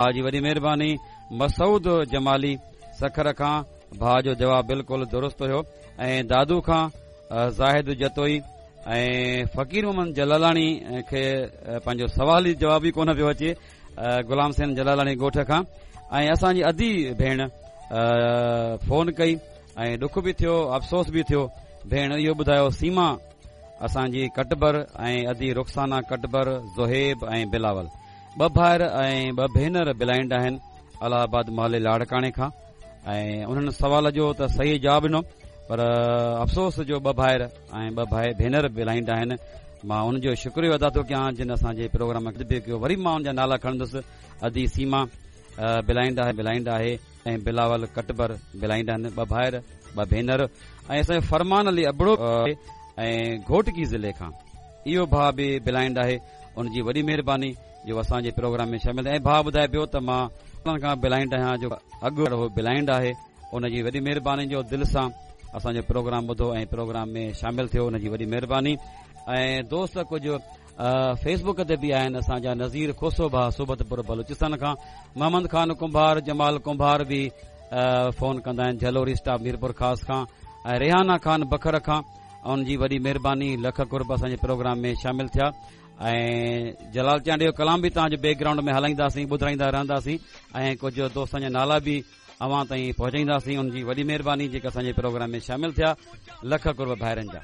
ڀاء جي وڏي مهرباني. مسعود جمالي سکر کان ڀاء جو جواب بلڪل درست هيو ۽ دادو کان زاهد جتوئي ۽ فقير محمد جلالاڻي کي پنهنجو سوال ئي جواب ئي ڪونه پيو اچي غلام حسين جلالاڻي ڳوٺ کان ۽ اسان جي ادي ڀيڻ فون ڪئي ۽ ڏک به ٿيو افسوس به ٿيو ڀيڻ اهو ٻڌايو سيما اسان جي ڪٽبر ۽ ادي رخسانه ڪٽبر زهيب ۽ بلاول ٻه ڀائر ۽ ٻه ڀينر بلائنڊ آهن الهه آباد محلي لاڙڪاڻي کان ۽ انهن سوال جو ته صحيح جواب ڏنو پر افسوس جو ٻه ڀائر ۽ ٻه ڀائي ڀينر بلائنڊ آهن مان ان جو شڪريو ادا ٿو ڪيان جن اسان جي پروگرام کي به ڪيو وري مان ان جا نالا کڻندس ادي سيما بلائنڊ آهي بلائنڊ آهي ۽ بلاول ڪٽبر بلائنڊ آهن ٻه ڀائر ٻه ڀينر ۽ اسان جو فرمان علي ابڙو ۽ گهوٽڪي ضلعي کان اهو ڀاء به بلائنڊ آهي ان جي وڏي مهرباني جو اسان جي پروگرام ۾ شامل ٿيا ۽ ڀاء ٻڌائي پيو ته مان سالن کان بلائنڊ آهيان جو اڳ هو بلائنڊ آهي ان جي وڏي مهرباني جو دل سان اسان جو پروگرام ٻڌو ۽ پروگرام ۾ شامل ٿيو ان جي وڏي مهرباني ۽ دوست ڪجهه فيس بڪ تي به آهن اسان جا نظير کوسو ڀاء صحبت پور بلوچستان کان محمد خان ڪنڀار جمال ڪنڀار به فون ڪندا آهن جهلوري اسٽاپ ميرپور خاص کان ۽ ريحانه خان بکر کان ان جي وڏي مهرباني لک قرب اسان جي پروگرام ۾ شامل ٿيا ۽ جلال چانڊيو جو ڪلام به توهان جي بيڪ گرائونڊ ۾ هلائينداسين ٻڌرائيندا رهنداسين ۽ ڪجهه دوستن جا نالا به اوهان تائين پهچائينداسين ان جي وڏي مهرباني جيڪا اسان جي پروگرام ۾ شامل ٿيا لک قرب ڀائرن جا.